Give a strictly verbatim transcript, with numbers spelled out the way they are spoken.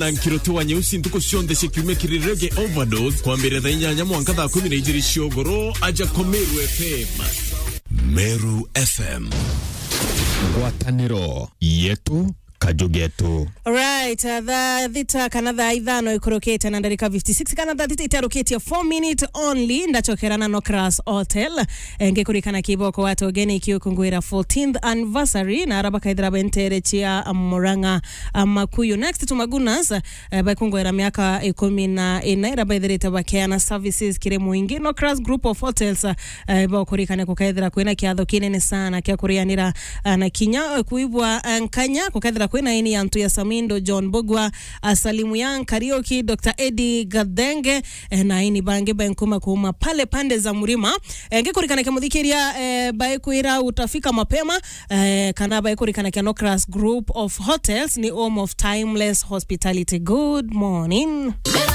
Na Nkiruti wa Nyeusi ntuku cionthe cia kiumia kiri Reggae Overdose, kwambiriria thaa inyanya mwanka thaa kumi na ijiri cia ugoro, aja kwa Meru F M. Meru F M. Ngwataniro yetu, kaju getu. Right, uh, thaa thita kana thaa ithano ikurukite na ndarika fifty-six, kana thaa thita itarukitie, four minute only, ndachokera na Nocras Hotel. Eh, ngikurikana kiboko watu ugeni kiukungwira fourteenth anniversary, na araba kaithira bentere chia Murang'a, uh, Makuyu. Next to Magunas, eh, bakungwira miaka ikumi na ina ira baithirite bakeana services kiri muingi. Nocras Group of Hotels, eh, bakurikane kukethira kwina kiatho kinene sana kia kurianira, eh, na kinya, eh, kuibwa, eh, nkanya kukethira kwina ini ya antu ya Samindo John Bogwa, eh, Salimu ya Nkarioki, Doctor Eddie Gathenge, eh, na ini bangi benkuma kuma pale pande za Murima. Eh, ngikurikana kimuthikiria, eh, baikwira utafika mapema, eh, kana baikurikana kia Nocras Group of Hotels ni home of timeless hospitality. Good morning.